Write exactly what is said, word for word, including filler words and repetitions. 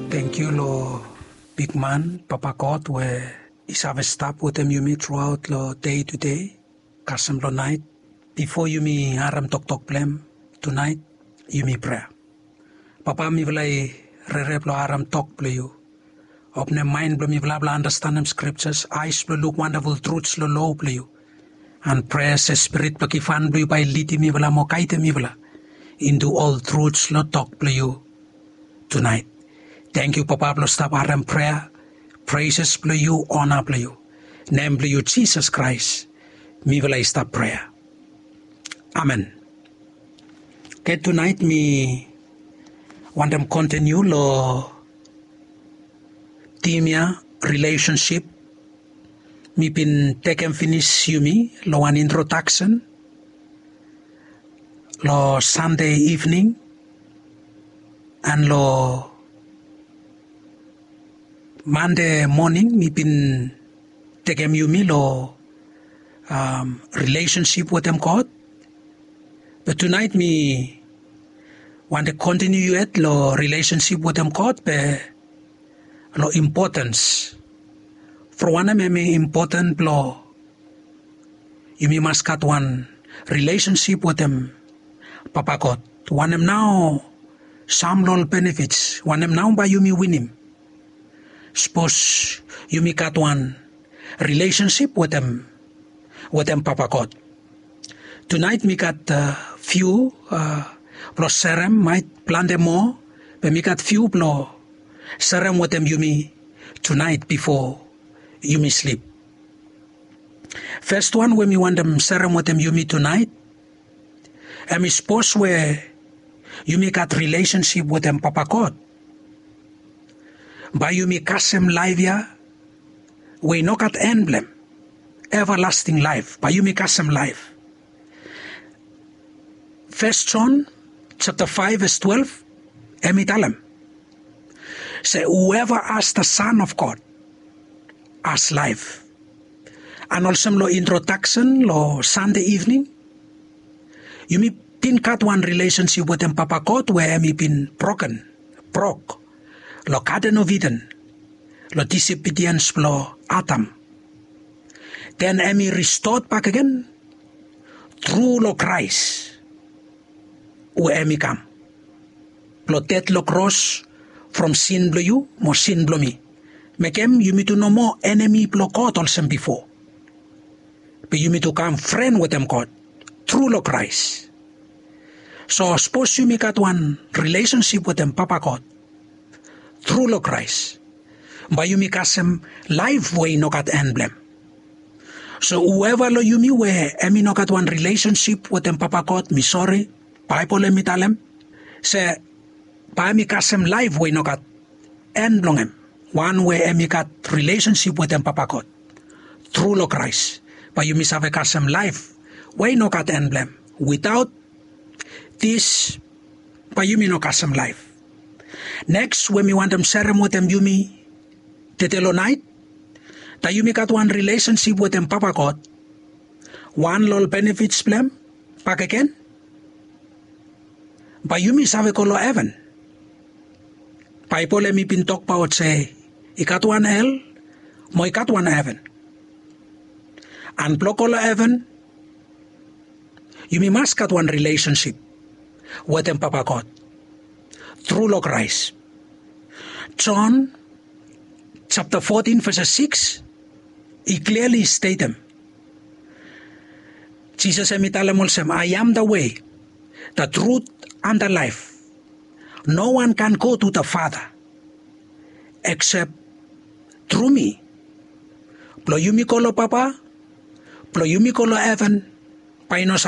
Tangkiu long bigman Papa God we i save stap wetem yumi truaot long dei tudei, kasem long nait. Bifo yumi harem toktok blong hem tunait, yumi prea. Papa, mifala i rere blong harem tok blong yu. Openem maen blong mifala blong anastenem skriptas, aes blong luk wandaful truts long lo blong yu. An prea se Spirit blong givhan blong yu bae i lidim mifala mo gaedem mifala intu ol truts long tok blong yu tunait. Tangkiu Papa blong stap harem prea, preses blong yu, ona blong yu. Nem blong yu Jisas Kraes mifala i stap prea. Amen. Oke, tunait mi wantem kontiniu long tim ya, rilesensip. Mi bin tekem finis yumi long wan introdaksen long Sande ivning, an long Mande moning mi bin tekem yumi long rilesensip wetem God. Be tunait mi wantem kontiniu yet long rilesensip wetem God, be long impotens. From wanem hem i impoten blong yumi mas gat wan rilesensip wetem Papa God? Wanem nao sam long ol benefits? Wanem nao bae yumi winim sapos yumi gat wan rilesensip wetem, wetem Papa God? Tunait mi gat fiu blong serem, maet plante moa, be mi gat fiu blong serem wetem yumi tunait bifo yumi slip. Fes wan we mi wantem serem wetem yumi tunait, hem i sapos we yumi gat rilesensip wetem Papa God, bae yumi kasem laef ya we i no gat en blong hem, evalasting laef, bae yumi kasem laef. Fes Jon sapta faef ves twelef, hem i talem se, "Whoever has the Son of God has life." An olsem long introdaksen long Sande ivning, yumi bin gat wan rilesensip wetem Papa God we hem i bin broken, brok long Gaden of Iden, long disobediens blong Adam. Den hem i ristot bakegen tru long Kraes we hem i kam blong ded long kros from sin blong yu mo sin blong mi. Mekem yumi tu no moa enemi blong God olsem bifo. Be yumi tu kam fren wetem God tru long Kraes. So sapos yumi gat wan rilesensip wetem Papa God tru long Kraes, bae yumi kasem laef we i no gat en blong hem. So whoever long yumi we hem i no gat wan rilesensip wetem Papa God, mi sori, Baebol hem i talem se bae hem i kasem laef we i no gat en blong hem. Wan we hem i gat rilesensip wetem Papa God tru long Kraes, bae yumi save kasem laef we i no gat en blong hem. Witaot dis, bae yumi no kasem laef. Neks we mi wantem serem wetem yumi tede long naet, taem yumi gat wan rilesensip wetem Papa God, wan long ol benefits blong hem bakegen, bae yumi save go long heven. Baebol hem i bin tokbaot se i gat wan hel mo i gat wan heven. An blong go long heven, yumi mas gat wan rilesensip wetem Papa God tru long Kraes. Jon sapta fotin ves sikis i kliali stetem. Jisas hem i talem olsem, "I am the way, the truth, and the life. No one can go to the Father except through me." Blong yumi go long Papa, blong yumi go long heven, bae i no